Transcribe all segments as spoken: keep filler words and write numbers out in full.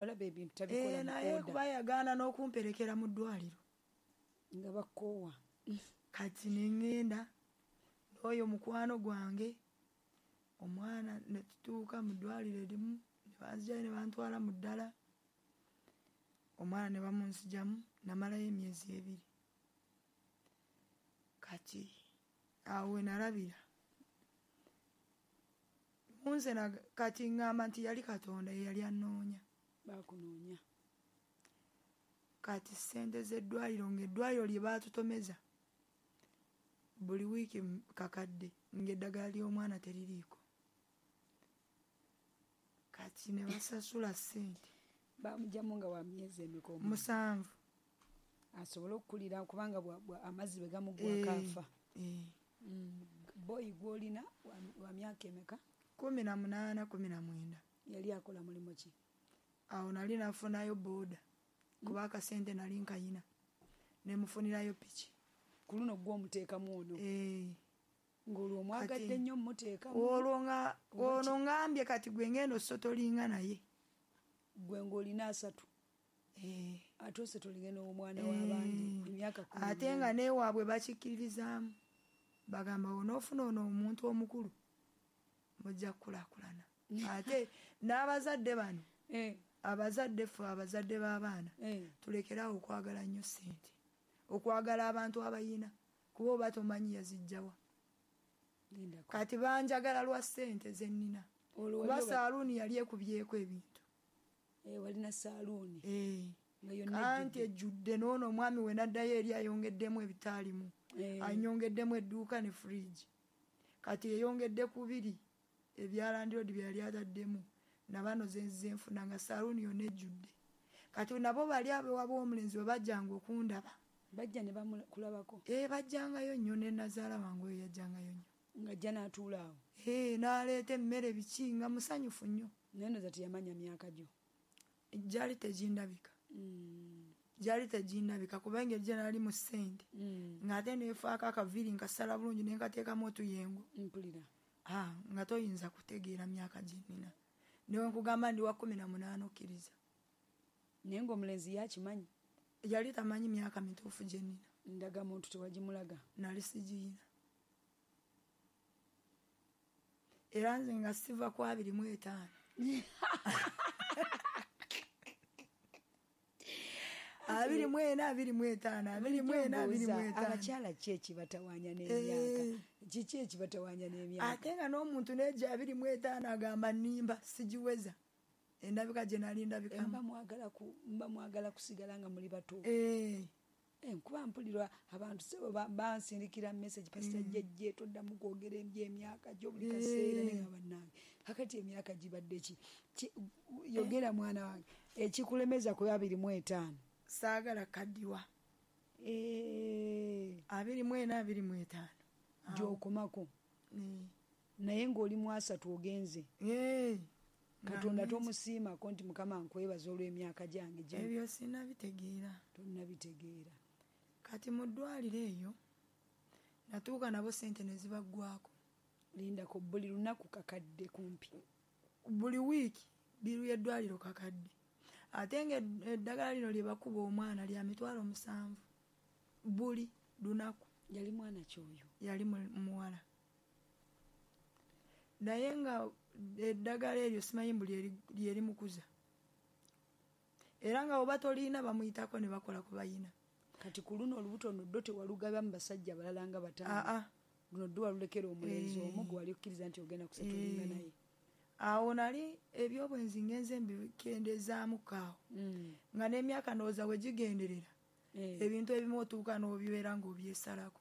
Olaba ebintu tabikola Eh, naye mu order. Kuba yagaana n'okumperekera mu ddwaliro. Nga bakoowa. Kati neŋŋenda n'oyo mukwano gwange, omwana ne tutuuka mu ddwaliro erimu, ne banzijayo ne bantwala mu ddala, omwana ne bamunzijamu, namalayo emyezi ebiri. Kati awo we nalabira munze, kati ŋŋamba nti yali Katonda ye yali annoonya. Bakunoonya. Kati ssente z'eddwaliro, ng'eddwaliro lye baatutomeza buli wiiki kakadde, ng'eddagala ly'omwana teririiko. Kati ne basasula ssente. Bamugyamu nga wa myezi emeka omwana? Musanvu. Asobole okukulira, kubanga amazzi bwe gamuggwako afa. Eh. Mm, boyi gw'olina wa myaka emeka? Kumi na munaana, kumi na mwenda. Yali akola mulimu ki? Awo nali nafunayo booda, kuba akasente nali nkayina, nemufunirayo piki. Ku luno gw'omuteekamu ono? Eh. Ng'olwo omwagadde nnyo mmuteekamu? Olwo nga ono ngambye kati gwe ngenda osotolinga naye. Gwe ng'olina asatu? Eh. Ate osetolinge n'omwana w'abandi emyaka kumi? Ate nga neewaabwe bakikkiririzaamu, bagamba onoofuna ono omuntu omukulu mujja kukulaakulana. Ate n'abazadde bano, Eh. abazadde ffe, abazadde b'abaana, Eh. tulekerawo okwagala nnyo ssente, okwagala abantu abayina, kuba oba tomanyi yazijjawa. Lindako. Kati banjagala lwa ssente ze nnina, Olwo kuba wali oba- saaluuni yali ekubyeko ebintu. Eh, walina saaluuni Eh. nga yonna Anti ejjudde. Ejjudde. N'ono omwami we naddayo eri ayongeddemu ebitaalimu. Eh. Anyongeddemu edduuka ne fridge. Kati eyongedde kubiri ebya landlord bye yali ataddemu, nabano zenzize nfuna nga saaluuni yonna ejjudde. Kati nabo bali abewaba omulenzi bwe bajjanga okundaba, Bajja ne bamukulabako? E, bajjangayo nnyo, ne nazaala wange oyo yajjangayo nnyo. Ng'ajja n'atuula awo? E, n'aleeta emmere biki, nga musanyufu nnyo. Naye noza teyamanya myaka gyo? Gyali tegindabika. Mm. Gyali tegindabika, kuba engeri gye nali mu ssente, Mm. ng'ate neefaako akaviiri nkasala bulungi nenkateekamu otuyengo. Mpulira. Ah, nga toyinza kutegeera myaka gye nnina. Newe nkugamba ndi wa kumi na munaana, okkiriza? Naye ng'omulenzi yakimanyi? Yali tamanyi myaka mituufu gye nnina. Ndagamuntu tewagimulaga? Nali sigiyina, era nze nga siva ku abiri mu etaano, abiri mu ena, abiri mu etaano, abiri mu ena, abiri mu etaano. Abakyala ki ekibatawaanya n'emyaka? Eh. Kiki ekibatawaanya n'emyaka? Ate nga n'omuntu neja abiri mu etaano agamba nnimba, sigiweza endabika gye nali ndabikamu. Mba mwagala ku- mba mwagala kusigala nga muli bato. Eh, Eh, nkuba mpulirwa abantu sebo ba- bansindikira message, "Pasita jjejje, toddamu kwogera ebyemyaka gyo buli kaseera." Eh. Nenga bannange, kakati emyaka gibadde ki? Ki- yogera mwana wange, ekikulemeza ku abiri mu etaano? Saagala kaddiwa. Eh, abiri mu ena, abiri mu etaano. Gy'okomako? Eh. Naye ng'oli mu asatu ogenze. Eh, Katonda nga tomusiimako nti, "Mukama, nkwebaza olw'emyaka gyange gino"? Ebyo sinnabitegeera. Tonnabitegeera. Kati mu ddwaliro eyo natuuka nabo sente ne zibaggwako. Lindako, buli lunaku kakadde kumpi? Buli wiiki bill y'eddwaliro kakadde, ate nga eddagala lino lye bakuba omwana lya mitwalo musanvu buli lunaku. Yali mwana kyoyo? Yali mu- muwala, naye nga eddagala eryo simanyi mbu lyeri- lyerimukuza, era nga oba toliina bamuyitako ne bakola ku bayina. Kati ku luno olubuto nno ddo tewalugaba mu basajja balala nga bataano? Aa. Luno ddo walulekera omulenzi Eh. omu gwe wali okkiriza nti ogenda kusettlinga Eh. naye? Awo nali ebyobwenzi ngenze mbikendezaamuko awo, Mm. nga n'emyaka ndowooza bwe gigenderera, Eh. ebintu ebimu otuuka n'obibeera ng'obyesalako.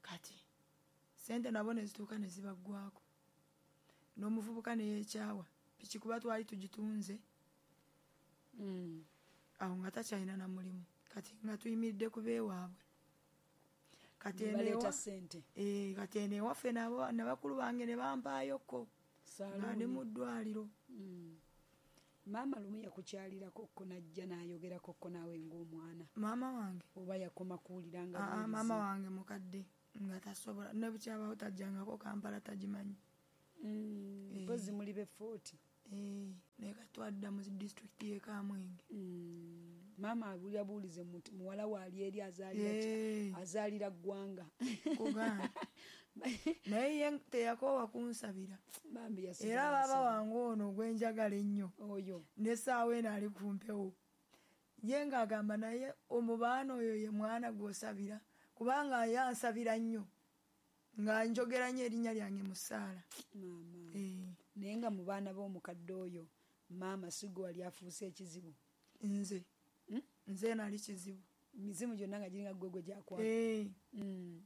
Kati sente nabo ne zituuka ne zibaggwako, n'omuvubuka neyeekyawa piki, kuba twali tugitunze. Mm. Awo nga takyalina na mulimu, kati nga tuyimiridde ku beewaabwe. Kati eno baleeta ewa- sente. Eh, kati eno ewaffe nabo ne bakulu bange ne bampaayokko nga ndi mu Saaluuni. ddwaliro. Mm. maama lumu yakukyalirako ko najja n'ayogerako ko naawe ng'omwana? Maama wange? Oba yakoma kuwulira nga Aa, buwulizi? Maama wange mukadde, nga tasobola, ne bukyabawo tajjangako Kampala, tagimanyi. Mm, Eh. mpozi muli be forty. Eh, naye kati twadda mu disitulikiti y'e Kamwenge. Mm. Maama abulira buulize muti muwala we ali eri azaalira ki? Eh. Azaalira ggwanga. Kugamba. Naye ye teyakoowa kunsabira. Bambi yasigala Era baaba asaba. wange ono gwe njagala ennyo. Oyo. N'essaawa eno ali ku mpewo. Ye ng'agamba naye omubaana oyo ye mwana gw'osabira kubanga ye ansabira nnyo. Nga njogera nnyo erinnya lyange mu ssaala. Maama. Eh. Naye nga mu baana b'omukadde oyo maama si gwe wali afuuse ekizibu. Nze. Hmm? Nze nali kizibu. Mizimu gyonna nga giringa ggwe gwe gyakwata. Eh. Mm.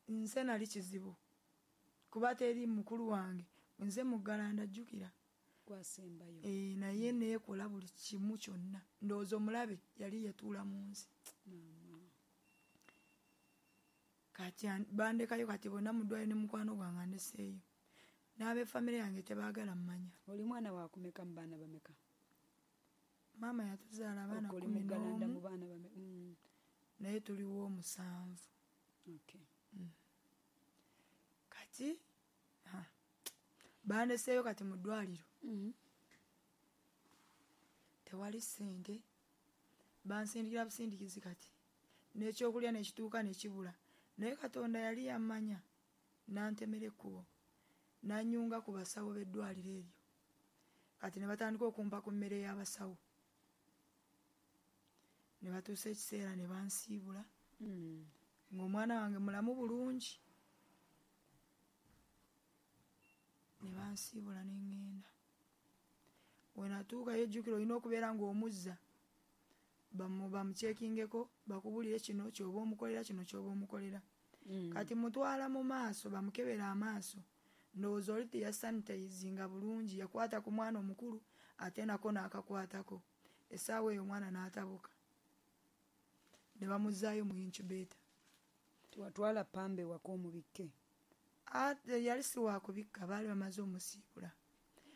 Nze nali kizibu. Kuba teri mukulu wange. Nze muggalanda jjukira. Gwasembayo. Eh, naye neekola buli kimu kyonna. Ndowooza omulabe yali yatuula mu nsi. Maama. Kati an-, bandekayo kati bonna mu ddwaliro ne mukwano gwange andeseeyo. N'ab'effamire yange tebaagala mmanya. Oli mwana wa kumeka mu baana bameka? Maama yatuzaala abaana Okwo oli kkumi muggalanda n'omu. mu baana bameka? Mm. Naye tuliwo omusanvu. Okay. Mm. Kati, ha, bandeseeyo kati mu ddwaliro. Mm-hmm. Tewali ssente. Bansindikira busindikizi kati. N'ekyokulya n'ekituuka ne kibula. Naye Katonda yali yammanya n'antemera ekkubo. N'annyunga ku basawo b'eddwaliro eryo. Kati ne batandika okumpa ku mmere y'abasawo. Ne batuusa ekiseera ne bansiibula. Mm. Ng'omwana wange mulamu bulungi. Ne bansiibula ne ŋŋenda. We natuukayo ejjukira olina okubeera ng'omuzza. Bamu-, bamucheckingeko, bakubulire kino ky'oba omukolera, kino ky'oba omukolera. Mm. Kati mutwala mu maaso, bamukebera amaaso. Ndowooza oli teyasanitizinga bulungi, yakwata ku mwana omukulu ate nako n'akakwatako. Essaawa eyo omwana n'atabuka. Ne bamuzzaayo mu incubator. Watwala pambe wako omubikke? Ate yali si wa kubikka, baali bamaze omusiibula.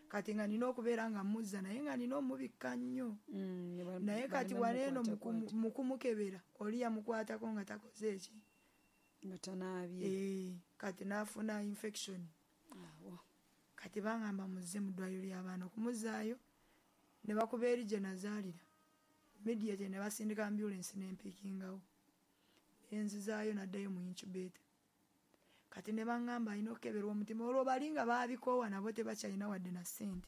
Kati nga nina okubeera nga mmuzza naye nga nina omubikka nnyo. Mm, ne ba- Naye kati baleme wano eno mukwata mu kumu-, kwata. mu kumukebera, oli yamukwatako nga takoze eki? Nga tanaabye. Eh, kati n'afuna infection. Awo. Kati bangamba muzze mu ddwaliro ly'abaana okumuzzaayo ne bakuba eri gye nazaalira. Immediately ne basindika ambulance n'empiikingawo. Nenzizaayo n'addayo mu incubator. Kati ne baŋŋamba alina okukeberwa omutima olwo bali nga baabikoowa nabo tebakyalina wadde na ssente.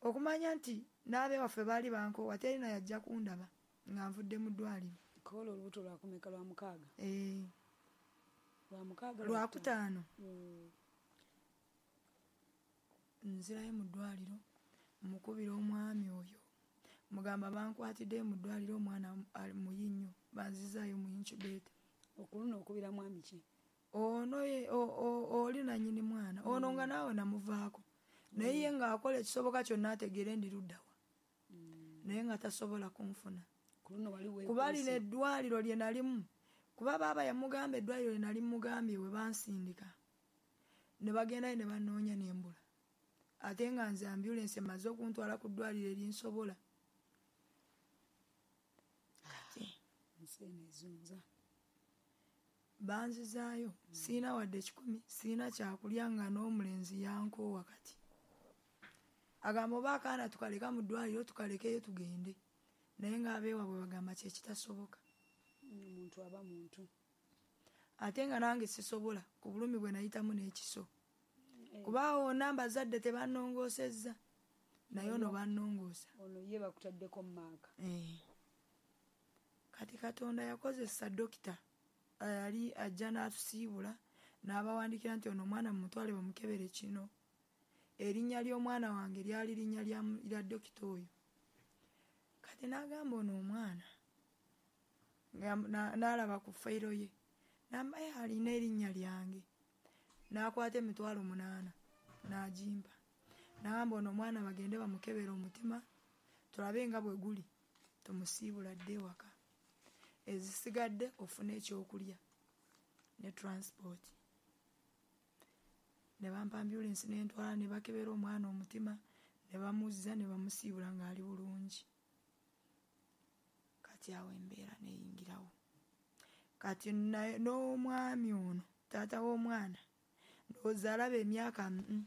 Okumanya nti n'abewaffe baali bankoowa teri na yajja kundaba nga nvudde mu ddwaliro. Kola olubuto lwakumeka lwa mukaaga? Eh. Lwa mukaaga, Lwa lwa kutaano. Mm. Nzirayo mu ddwaliro, mukubira omwami oyo. Mugamba bankwatidde mu ddwaliro omwana ali muyi nnyo, banzizaayo mu incubator. Okuluno okubira mwami ki? Ono ye, o-, o-, oli nannyini mwana. Ono nga Mm. naawe namuvaako. Naye ye ng'akola ekisoboka kyonna ategeere ndi ludda wa. Mm. Naye nga tasobola kunfuna. Ku luno wali weekwese. Kuba lino eddwaliro lye nalimu. Kuba baaba yamugamba eddwaliro lye nali mugambye we bansindika. Ne bagendayo ne bannoonya n'embula. Ate nga nze ambulance emaze okuntwala ku ddwaliro erinsobola. Kati. Ensi eno ezunza. Banzizaayo, siina wadde kikumi, siina kyakulya nga n'omulenzi yankoowa kati. Agamba oba akaana tukaleka mu ddwaliro tukalekeyo tugende. Naye ng'abeewaabwe bagamba kye kitasoboka. Omuntu aba muntu. Ate nga nange sisobola ku bulumi bwe nayitamu n'ekiso. Eh. Kuba awo wonna mbazadde tebannongoosezza. Naye ono bannongoosa. Ono ye bakutaddeko mu maaka. Eh. Kati Katonda yakozesa dokita. Yali ajja n'atusiibula n'abawandiikira nti ono omwana mumutwale bamukebere kino. Erinnya ly'omwana wange lyali linnya lya mu-, lya dokita oyo. Kati n'agamba ono omwana, nga na-, n'alaba ku fayiro ye, n'amba ye alina erinnya lyange. N'akwata emitwalo munaana n'agimpa. N'agamba ono omwana bagende bamukebere omutima tulabe nga bwe guli, tumusiibula adde ewaka. Ezisigadde ofune ekyokulya ne transport. Ne bampa ambulance ne ntwala ne bakebera omwana omutima ne bamuzza ne bamusiibula ng'ali bulungi. Kati awo embeera neyingirawo. Kati naye n'omwami ono taata w'omwana ndowooza alaba emyaka mm,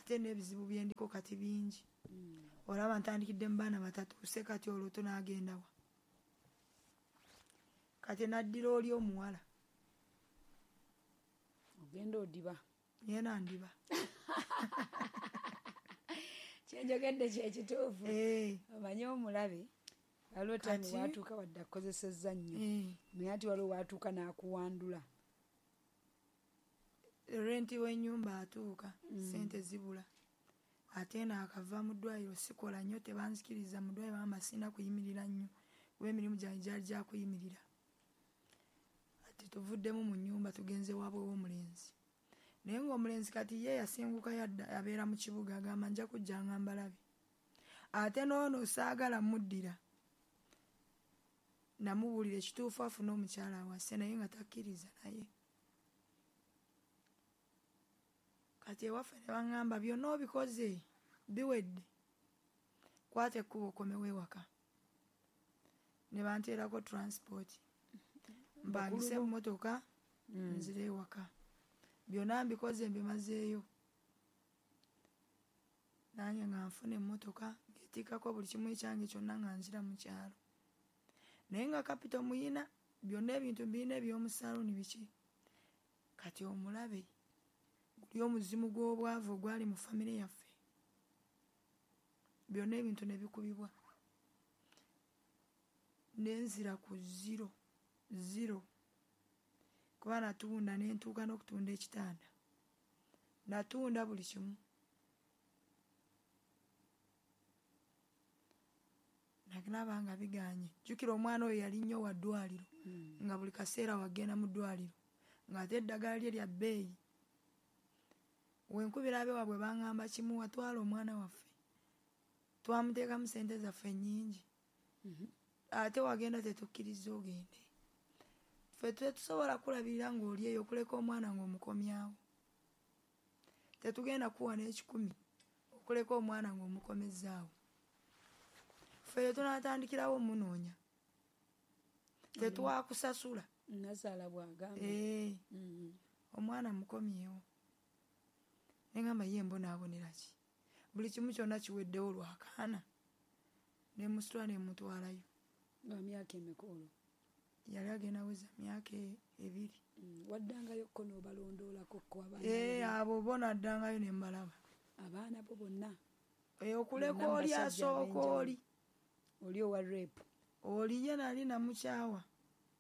Ate n'ebizibu byendiko kati bingi. Mm. Olaba ntandikidde mu baana batatuuse, kati olwo tunaagendawa? Kati naddira oli omuwala. Ogenda odiba. Yena ndiba. Kyenjogedde kyekituufu. Eh. Omanyi omulabe waliwo time Kati watuuka wadde akukozesezza nnyo. Eh. Naye ati waliwo watuuka n'akuwandula. Renti w'ennyumba atuuka, Mm. ssente zibula. Ate naakava mu ddwaliro sikola nnyo, tebanzikiriza mu ddwaliro, bangamba sirina kuyimirira nnyo kuba emirimu gyange gyali gya kuyimirira. Ati tuvuddemu mu nnyumba tugenze waabwe w'omulenzi. Naye ng'omulenzi kati ye yasenguka yadda abeera mu kibuga, agamba nja kujja nga mbalabe. Ate n'ono saagala muddira. Namubuulira ekituufu afune omukyala awase, naye nga takkiriza naye. Kati ewaffe ne baŋŋamba byonna obikoze biwedde, kwata ekkubo okomewo ewaka. Ne banteerako transport, mpangise Bakulu bo? emmotoka Mm. nzire ewaka. Byonna mbikoze mbimazeeyo. Nange nga nfuna emmotoka ng'etikkako buli kimu ekyange kyonna nga nzira mu kyalo. Naye nga kapito muyina, byonna ebintu mbirina eby'omu saaluuni biki. Kati omulabe guli omuzimu gw'obwavu ogwali mu famire yaffe. Byonna ebintu ne bikubibwa. Ne nzira ku zero, zero. Kuba natunda ne ntuuka n'okutunda ekitanda. Natunda buli kimu. Nalaba nga bigaanye. Jjukira omwana oyo yali nnyo wa ddwaliro. Mm. Nga buli kaseera wagenda mu ddwaliro. Ng'ate eddagala lye lya bbeeyi. Wenkubira abeewaabwe baŋŋamba kimu, watwala omwana waffe. Twamuteekamu ssente zaffe nnyingi. Mm-hmm. Ate wagenda tetukkiriza ogende. Ffe tetusobola kulabirira ng'oli eyo okuleka omwana ng'omukomyawo. Tetugenda kuwa n'ekikumi okuleka omwana ng'omukomezzaawo. Ffe tunaatandikirawo omunoonya. Tetwakusasula. Nnazaala bw'agamba. Eh. Mm. Omwana mukomyewo. Ne ŋŋamba ye mbonaabonera ki? Buli kimu kyonna kiweddewo lwakaana. Ne musitula ne mutwalayo. Nga myaka emeka olwo? Yali agenda weza myaka e-, ebiri. Mm. Waddangayo ko n'obalondoolako ko abaana Eh, bo? abo bo naddangayo ne mbalaba. Abaana bo bonna? Eh, okuleka Bonna oli basajja asooka ab'enjawulo. oli. Oli owa rape. Oli ye nali namukyawa.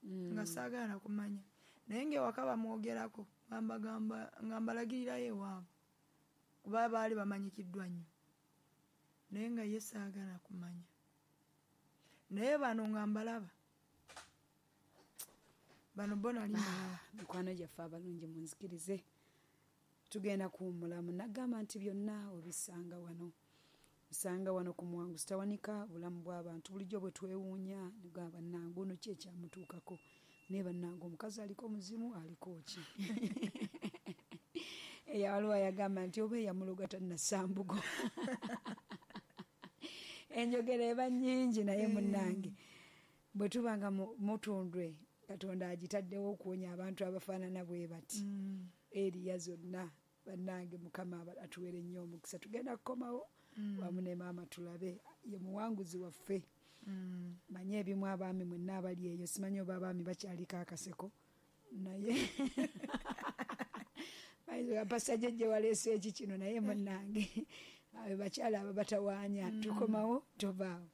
Mm. Nga saagala kumanya. Naye ng'ewaka bamwogerako, nga mbagamba, nga mbalagirirayo ewaabwe. Kuba baali bamanyikiddwa nnyo. Naye nga ye saagala kumanya. Naye bano nga mbalaba. Bano bo nali mbalaba. Mikwano gyaffe abalungi munzikirize. Tugenda kuwummulamu. Nagamba nti byonna obisanga wano. Osanga wano ku Muwanguzi Tawanika, obulamu bw'abantu bulijjo bwe twewuunya, nugamba bannange ono ki ekyamutuukako? Naye bannange omukazi aliko muzimu, aliko ki? Eya waliwo ayagamba nti oba eyamuloga tannasambugo. Enjogera eba nnyingi naye munnange. Bwe tuba nga mu-, mutundwe, Katonda agitaddewo okuwonya abantu abafaanana bwe bati. Mm. Eriya zonna bannange Mukama aba-, atuweere nnyo omukisa. Tugenda kukomawo Mm. wamu ne maama tulabe ye muwanguzi waffe. Mm. Manye ebimu abaami mwenna abali eyo, simanyi oba abaami bakyaliko akaseko naye bayinza Pastor Jjejje waleese eki kino naye munnange abo bakyala abo batawaanya. Mm. Tukomawo tovaawo.